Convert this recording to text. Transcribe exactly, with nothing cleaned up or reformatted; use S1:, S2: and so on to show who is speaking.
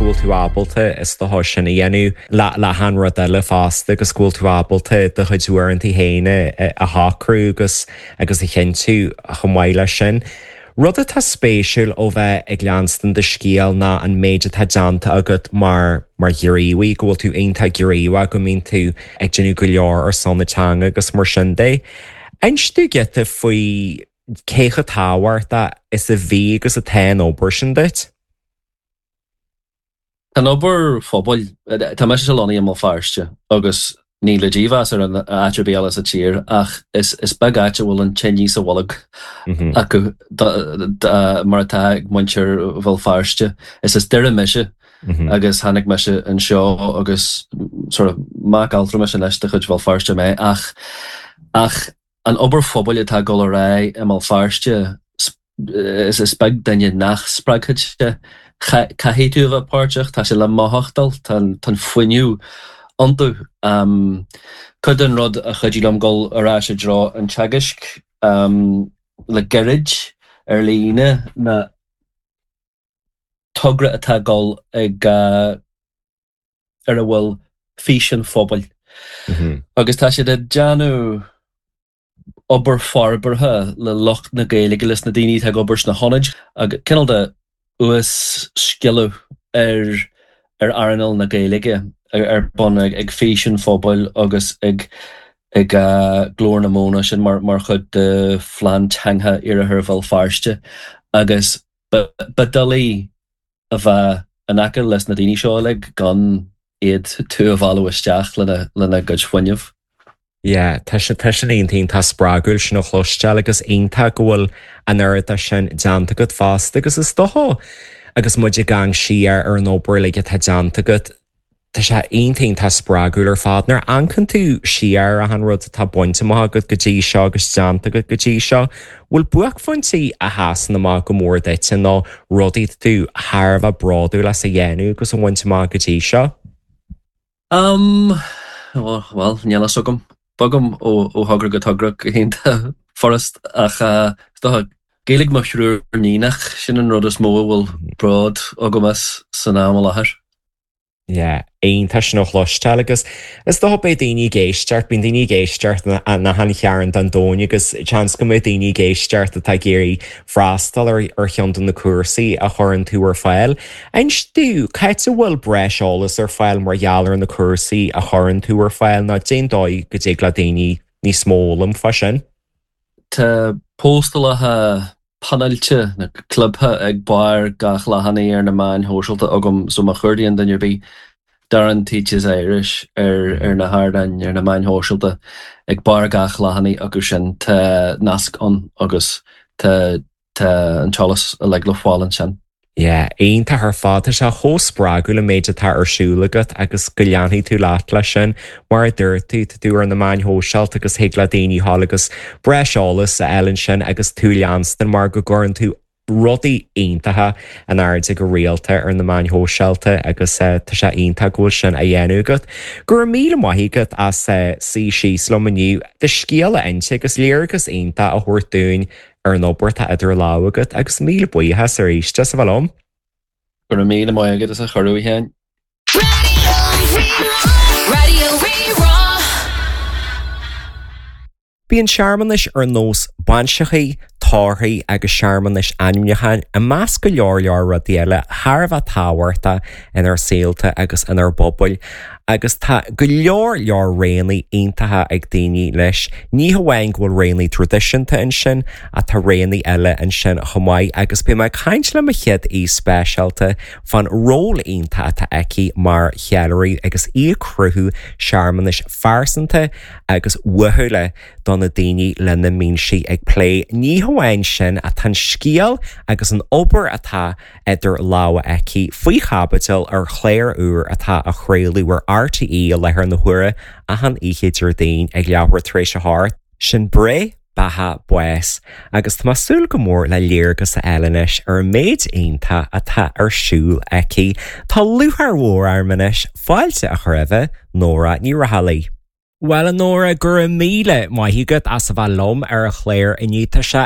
S1: go bhfuil tú ábalta is dócha sin a dhéanamh le le achan rud eile fosta agus go bhfuil tú ábalta do chuid uaireanta féin a shocrú agus agus a chinntiú chomh maith leis sin. Rud atá spéisiúil ó bheith ag leanstan do scéal ná an méid atá déanta agat mar mar ghníomhaí go bhfuil tú iontach gníomhach go mbíonn tú ag déanamh go leor ar son na teanga agus mar sin de. Inis dúinn giota faoi cé chomh tábhachtach is a bhí agus atá an obair sin duit?
S2: Tá an obair phobail tá mise lonnaithe i mBéal Feirste agus ní le dímheas ar an áit ar bith eile sa tír ach is is beag áit a bhfuil an tine sa bholg acu mar atá ag muintir Bhéal Feirste. Is as Doire mise agus tháinig mise anseo agus sort of mac altramais anois de chuid Bhéal Feirste mé ach ach an obair phobail atá ag dul ar aghaidh i mBéal Feirste is is beag duine nach spreagfadh sé. Caithfidh tú a bheith páirteach, tá sé le mothachtáil, tá an fuinneamh iontu. Cuid den rud a chuidigh liom dul ar ais i dtreo an teagaisc le gairid ar líne ná togra atá ag dul ag ar a bhfuil Fís an Phobail. Agus tá siad ag déanamh obair forbartha le lucht na Gaeilge leis na daoine atá ag obair sna hionaid agus cineál de uas-sciliú ar ar earnáil na Gaeilge ar bun ag Fís an Phobail agus ag ag Glór na Móna sin mar mar chuid de phlean teanga Iarthar Bhéal Feirste agus ba doiligh a bheith in aice leis na daoine seo uilig gan iad tú a mhealladh isteach lena lena gcuid fuinnimh.
S1: Yeah, tá sé tá sin iontach spreagúil sin a chloisteáil agus iontach go bhfuil an oiread sin déanta agat fosta agus is dócha agus muid ag amharc siar ar an obair uilig atá déanta agat Tá sé iontach spreagúil ar fad nuair a amharcann tú siar ar an rud atá bainte amach agat go dtí seo agus déanta agat go dtí seo, bhfuil buaicphointí a sheasann amach go mór duit nó rudaí tú thar a bheith bródúil as a dhéanamh agus a bhaint amach go dtí seo?
S2: Um, well, níl a fhios agam. Bogaim ó ó thogra go togra go hiontach furast ach uh, is dócha Gaeilge mo thriúr níonach sin an rud is mó a bhfuil bród agam as san am i láthair.
S1: Yeah, iontach sin a chloisteáil agus is dócha beidh daoine ag éisteacht, bíonn daoine ag éisteacht na han chearn den domhan agus seans go mbeidh daoine ag éisteacht atá ag iarraidh freastal ar ar cheann de na cúrsaí a chuireann tú ar fáil. Inis dúinn cá háit a bhfuil breis eolas ar fáil mar gheall ar na cúrsaí a chuireann tú ar fáil nó cén dóigh go dtig le daoine níos mó fhoghlaim fá sin.
S2: Tá postálacha píneáilte na clipthe ag barr gach leathanaigh ar na meáin shóisialta agam so má chuardaíonn duine ar bith Darren Teaches Irish ar ar na hardáin ar na meáin shóisialta ag barr gach leathanaigh acu sin tá nasc ann agus tá tá an t-eolas uilig le fáil ansin.
S1: Yeah, iontach ar fad tá sé chomh spreagúil an méid atá ar siúl agat agus go leanfaidh tú leat leis sin mar a dúirt tú tá tú ar na meáin shóisialta agus thig le daoine thall agus breis eolas a fháil ansin agus tú leanstan mar go gcuireann tú rudaí iontacha in airde go rialta ar na meáin shóisialta agus uh, tá sé iontach go bhfuil sin á dhéanamh agat. Go raibh míle maith agat as uh, suí síos liom inniu do scéal a inse agus léargas iontach a thabhairt dúinn ar an obair atá idir lámha agat agus míle buíochas arís as a bheith liom.
S2: Go raibh míle maith agat as an gcuireadh a Sheáin.
S3: Radio Rí-Rá.
S1: Bíonn searmanais ar nós bainseachaí, tórraimh agus searmanais ainmniúcháin i measc go leor leor rudaí eile thar a bheith tábhachtach inár saolta agus inár bpobail, agus tá go leor leor roghanna iontacha ag daoine leis. Ní hamháin go bhfuil roghanna traidisiúnta ansin ach tá roghanna eile ansin chomh maith agus beidh mé ag caint le mo chéad aoi speisialta fán ról iontach atá aici mar cheiliúraí agus í ag cruthú searmanais phearsanta agus uathúla do na daoine lena mbíonn sí ag plé. Ní hamháin sin ach tá an scéal agus an obair atá idir lámha aici faoi chaibidil ar chlár úr atá á chraoladh ar RTÉ i láthair na huaire achan oíche Déardaoin ag leathuair tar éis a hocht. Sin Breith Beatha Bás, agus tá súil go mór le léargas a fháil anois ar an méid iontach atá ar siúl aici. Tá lúcháir mhór orm anois fáilte a chur roimh Nóra Ní Raghallaigh. Well Nóra go raibh míle maith agat as a bheith liom ar an chlár inniu tá sé